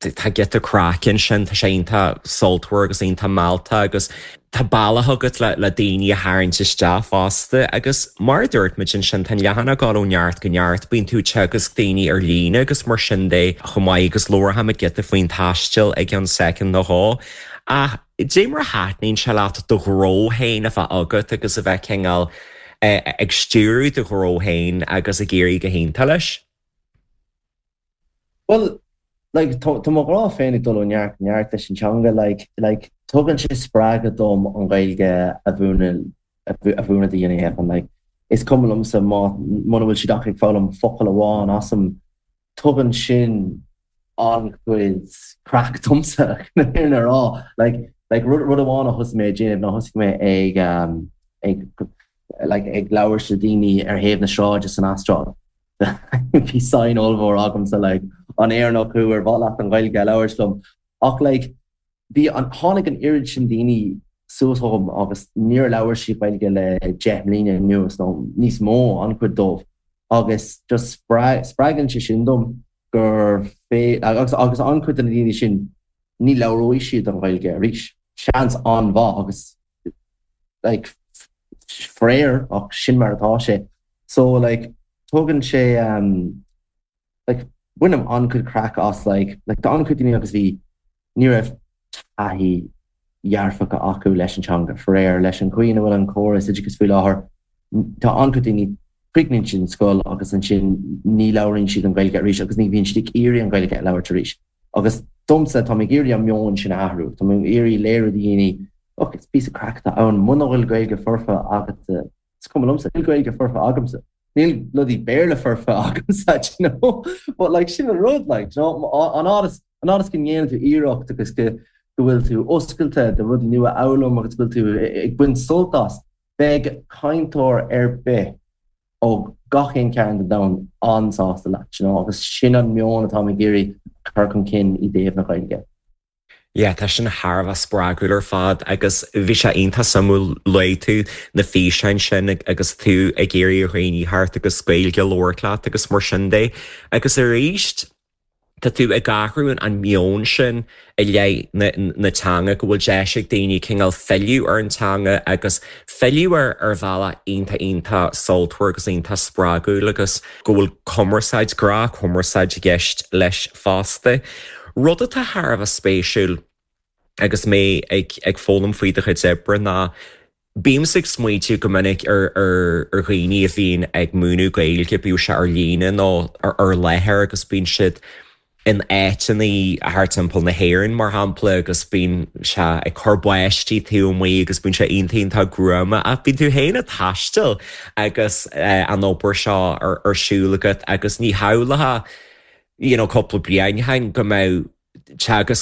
Tá giota craic ansin, tá sé iontach sultmhar agus iontach mealltach agus tá bealach agat le daoine a tharraingt isteach fosta. Agus mar a dúirt muid ansin, tá an leathanach ag dul ó neart go neart, bíonn tú ag teagasc daoine ar líne agus mar sin de chomh maith agus labharfaimid giota faoin taisteal i gceann soicind nó dhó. Ach dé mar a thaitníonn sé leat do ghnó féin a bheith agat agus a bheith cineál ag stiúradh do ghnó féin agus ag éirí go hiontach leis? Bhuel, like, tá, tá mo ghrá féin ag dul ó neart go neart leis an teanga, like, like, tugann sé spreagadh dom an Ghaeilge a mhúineadh, a mhúineadh do dhaoine eile, like, is cuma liomsa má, muna bhfuil siad ach ag foghlaim focal amháin asam, tugann sin an-chuid craic domsa, chun an fhírinne a rá, like, like, rud, rud amháin a thosaigh mé ag déanamh ná thosaigh mé ag, um, ag, like, ag labhairt le daoine ar thaobh na sráide san Astráil. Bhí sign ollmhór agamsa like an Éireannach thú ar mhaith leat an Ghaeilge a labhairt liom ach like bhí an tháinig an oiread sin daoine suas chugam agus níor labhair siad Gaeilge le 10 mbliana anuas nó níos mó an-chuid dóibh agus just spreagann sé sin dom gur fé agus agus an-chuid de na daoine sin ní labhróidh siad an Ghaeilge arís seans an-mhaith agus like faraor ach sin mar atá sé so like tugann sé um like bainim an-chuid craic as like like tá an-chuid daoine agus bhí ní raibh taithí dhearfacha acu leis an teanga faraor leis an chaoi ina bhfuil an córas oideachais faoi láthair tá an-chuid daoine críochnaíonn siad an scoil agus ansin ní labhraíonn siad an Ghaeilge arís agus ní bhíonn siad ag iarraidh an Ghaeilge a labhairt arís. Agus domsa, tá mé ag iarraidh an meon sin a athrú. Tá mé ag iarraidh léiriú do dhaoine, look, is píosa craic atá ann, muna bhfuil Gaeilge foirfe agatsa, is cuma liomsa, níl Gaeilge foirfe agamsa, níl bloody Béarla foirfe agamsa, do you know? But like, sin an rud, like, do you know, an fhad is, an fhad is go ndéanann tú iarracht agus go, go bhfuil tú oscailte do rudaí nua a fhoghlaim agus go bhfuil tú ag baint sult as, beidh cainteoir ar bith ó gach aon chearn den domhan an-sásta leat, you know, agus sin an meon atáim ag iarraidh a chur chun cinn i dtaobh na Gaeilge. Yeah, tá sin thar a bheith spreagúil ar fad agus bhí sé iontach suimiúil, luaigh tú na físeáin sin agus tú ag iarraidh ar dhaoine theacht agus Gaeilge a labhairt leat agus mar sin de agus arís, Tá tú ag athrú an meon sin i leith na teanga, go bhfuil deis ag daoine cineál filleadh ar an teanga agus filleadh air ar bhealach iontach iontach sultmhar agus iontach spreagúil agus go bhfuil cumarsáid, gnáthchumarsáid i gceist leis fosta. Rud atá thar a bheith spéisiúil agus mé ag foghlaim faoi do chuid oibre ná Bímse ag smaointiú go minic ar dhaoine a bhíonn ag múineadh Gaeilge, bíodh sé ar líne nó ar láthair, agus bíonn siad in áiteanna thart timpeall na hÉireann, mar shampla, agus bíonn sé ag cur báistí taobh amuigh agus bíonn sé iontach iontach gruama. Ach bíonn tú féin ag taisteal agus an obair seo ar siúl agat agus ní shamhlófá, you know, cúpla bliain ó shin go mbeadh teagasc.